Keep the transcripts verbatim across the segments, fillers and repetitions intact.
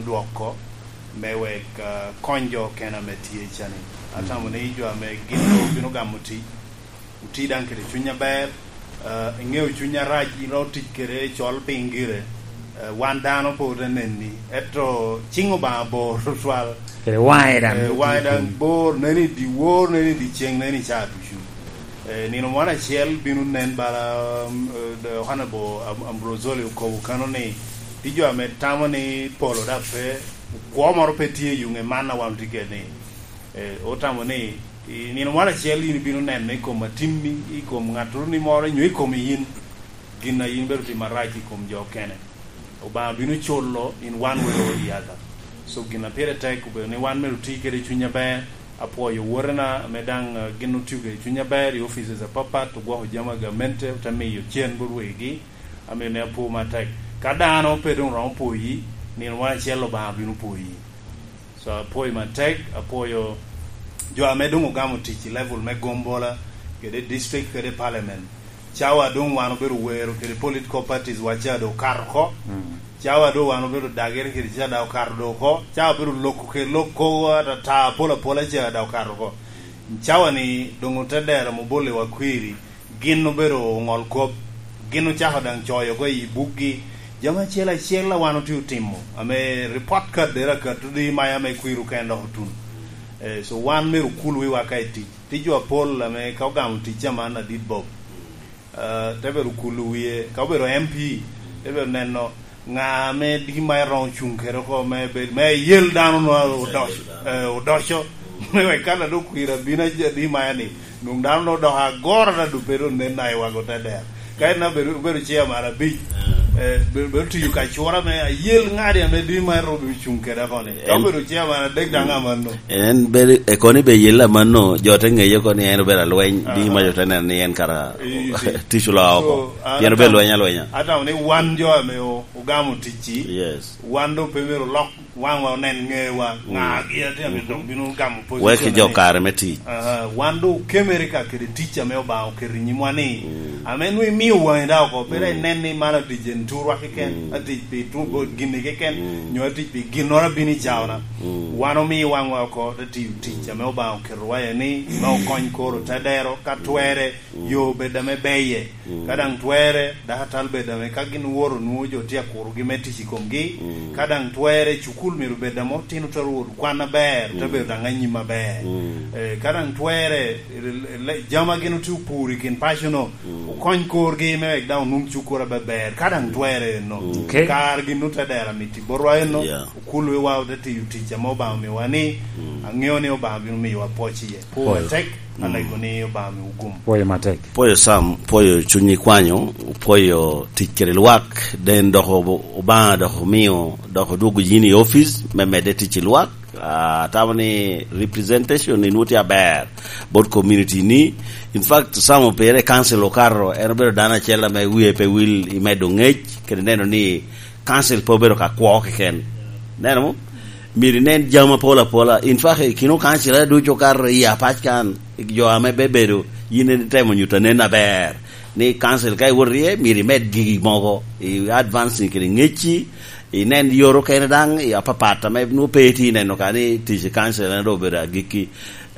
dwoko me wek, ah, kony jo okene ame tye cani. Atamo ni jo ame gin obino gamo tic, oti daŋ kede cuny aber, ah, iŋeo cuny arac, ilo tic kede col piny gire. Eh, wan dano pe ote nenni, ento ciŋ Obaŋa bor tutwal. Kede waŋe daŋ Eh, waŋe daŋ bor, neni i dyewor, neni i dyeceŋ, neni i caa ducu. Eh, nino moro acel bino nen bala, um, eh, Honorable Am-, Ambrosoli okobo kano ni, pi jo ame tamo ni polo dok pe, kwo moro pe tye i yuŋe man a wan otye kede ni. Eh, otamo ni, i nino moro acel in ibino neno i kom atimmi, i kom ŋattoro ni moro, nyo i komi in, gin a in bedo timo arac i kom jo okene. Obaŋa bino culo in one way or the other. So, gin a pire tek obedo ni wan myero oti kede cuny aber. Apwoyo wotena ame daŋ, eh, gin otio kede cuny aber i offices apapat, ogwoko jami a gamente, ote miyo cen bot wegi. Amiyo ni apwo matek. Ka dano pe doŋ romo pwoyi, nino moro acel Obaŋa bino pwoyi. So, apwoyo matek, apwoyo jo ame doŋ ogamo tic i level me gombola, kede district, kede parliament. Cawa doŋ wan obedo wero kede political parties wa ca doŋ okato oko. Mm. Cawa doŋ wan obedo dagere kede ca daŋ okato doŋ oko. Cawa obedo loko kede lok kogo atata apol apola ca daŋ okato oko. Cawa ni doŋ ote dero ame obolliwa kwiri, gin obedo oŋol kop, gin ocako daŋ coyo oko i bukgi. Jami acel acel a wan otye otimo, ame report card dera akato di mayo ame kwiri oken dok otuno. Eh, so wan myero okul wiwa ka i tic. Tye jo apol ame ka ogamo tic aman adit bob. Eh, te bedo kulu wie, ka obedo M P, te bedo neno ŋa ame di ma eroŋo cuŋ kede oko me bed, me yel dano no odoc-, eh, odoco. Me wek ka ladoŋ kwira bino aja di ma ni, nwoŋ dano no odoko agoro na dube doŋ nen na i wago te der. Ka en obedo, obedo chairman abic, eh, be-, bedo tiyo ka cura me ayel ŋadi ame di ma erobi cuŋ kede oko ni. Ka obedo chairman adek daŋ amanno. En bedo, e kono ibe yel amanno, jo te ŋeye oko ni en obedo alweny, di ma jo te neno ni en kara tic oloa oko. So, an Pien obedo atamo, lweny alwenya. Atamo ni wan jo ame o-, ogamo ticci, Yes. wan doŋ pe myero olok waŋwa onen ŋewa, ŋa gi atye ame dok bino gamo position Wek ki jo ni. Kare me tic. Aha, wan doŋ okemere ka kede tic ame Obaŋa oketo i nyimwa ni, ame nwoŋo imio waŋi daŋ oko, pe dok inen ni man atic en turwa keken, atic pi tu-, bo-, gini keken, nyo atic pi ginnoro abino i caona. Wan omio waŋwa oko, te tiyo tic ame Obaŋa oketowa iye ni, me okony koro te dero, ka twerre, yo obed ame beye. Ka daŋ twerre, dakatal bed ame ka gin owoto nwoŋo jo tye akurogi me tic i komgi. Ka daŋ twerre, cukul myero bed ame otino te rwot kwan aber, te bedo daŋ anyim aber. Eh, ka daŋ twerre, le-, le-, jami a gin otye opuro i kin paco-no, okony korgi me wek daŋ onwoŋ cukura aber, ka daŋ twerre enno. Okay. Kar gin ote dero amiti botwa enno, Yeah. okul wiwa ote tiyo tic ame Obaŋa omiwa ni, aŋeo ni Obaŋa bino miyowa pwoc iye. Pwo Pwoyo. matek, alego ni Obaŋa miwu gum. Pwoyo matek. Pwoyo Sam, pwoyo cunyi kwanyo, pwoyo tic kede lwak, den dok ob-, Obaŋa dok omio, dok odwogo yin i office me medde tic i lwak. Ah, atamo ni representation ni nwoŋo tye aber bot community ni. In fact, Sam opire i council okato, en obedo dano acel ame wie pe wil i medo ŋec, kede neno ni council pe obedo ka kwo keken. Neno mo? Myero inen jami apol apola. In fact, i kin okancil ducu okato i apac kan, jo ame bebedo, yin itemo nyuto anen aber ni kancil ka iwoto iye, myero imed gigi mogo, i advancing kede ŋecci, inen yore okene daŋ, i apapat ame nwoŋo pe itye ineno ka ni tic i kancil en doŋ obedo agikki.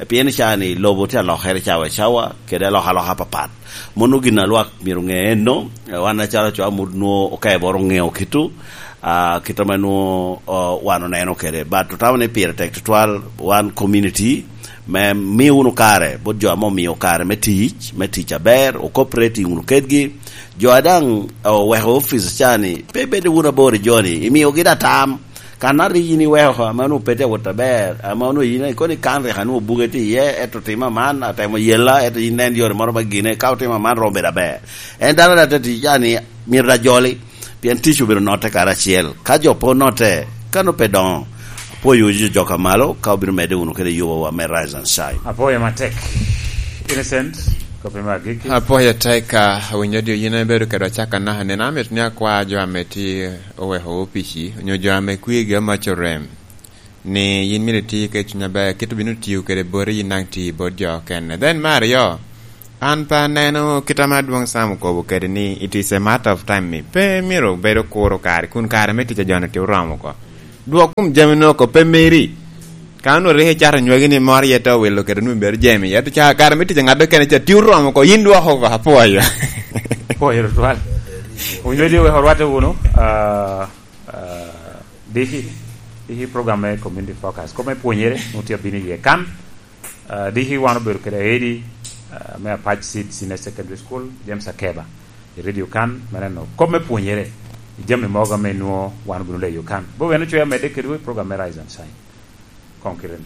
Pien i caa-ni lobo tye alokere cawa i cawa, kede alokaloka apapat. Mano gin a lwak myero oŋe enno, eh, wan acalo co amut nwoŋo okeboro oŋeo kito, ah, kit ame nwoŋo, oh, wan oneno kede. But otamo ni pire tek tutwal, wan community, me mi wunu kare, bot jo ame omio kare me tic, me tic aber, o cooperating wunu kedgi. Jo a daŋ, eh, oweko office caa-ni, pe bedo wunu abor i jo-ni, imiogi da tam. Kan a rik yin iweko ame onwoŋo pe tye awot aber, ame onwoŋo yin ikoni kan rik anwoŋo buge tye iye, ento timo aman, atemo yella, ento yin nen yore moro ma gine, ka otimo aman romo bedo aber. En dano daŋ te tic, yani, myero daŋ joli, pien tic obedo notte karacel. Ka jo pe onotte, kan ope doŋo, apwoyo jo, jo ka malo, ka obino medde wunu kede yubowa me Rise and Shine. Apwoyo matek. Innocent, kopi me agikki. Apwoyo tek, ah, awinyo di yin ibedo kedwa cakka naka nino, amito ni akwa jo ame tye oweko opici, onyo jo ame kwirgi amac orem, ni yin myero iti kede cuny aber, kit obino tiyo kede boti, yin daŋ ti bot jo okene. Then me aryo, an pe aneno kit ame Adwoŋ Sam okobo kede ni it is a matter of time, ni pe myero bedo kuro kare, kun kare me tic a jo-ni tye oromo oko. Dwok kom jami noko pe meri. Ka onwoŋo rik icato nywagi ni moro iye te owilo kede onwoŋo ibedo jami. Ento ca kare me tic a ŋat okene ca tye oromo oko, yin dwoko oko, apwoyo. Apwoyo tutwal. Onywedi wek orwatte wunu, ah, ah, diki, diki program me Community Focus. Kop me pwonyere, nwoŋo tye abino iye kan. Ah, diki wan obedo kede Eddie, ah, me Apac Seed Senior Secondary School, James Akeba, i radio kan, me neno kop me pwonyere, i jami mogo ame nwoŋo wan obino leyo kan. Bo wen ocwe amedde kedwu i program me Rise and Shine. Koŋ kite ni.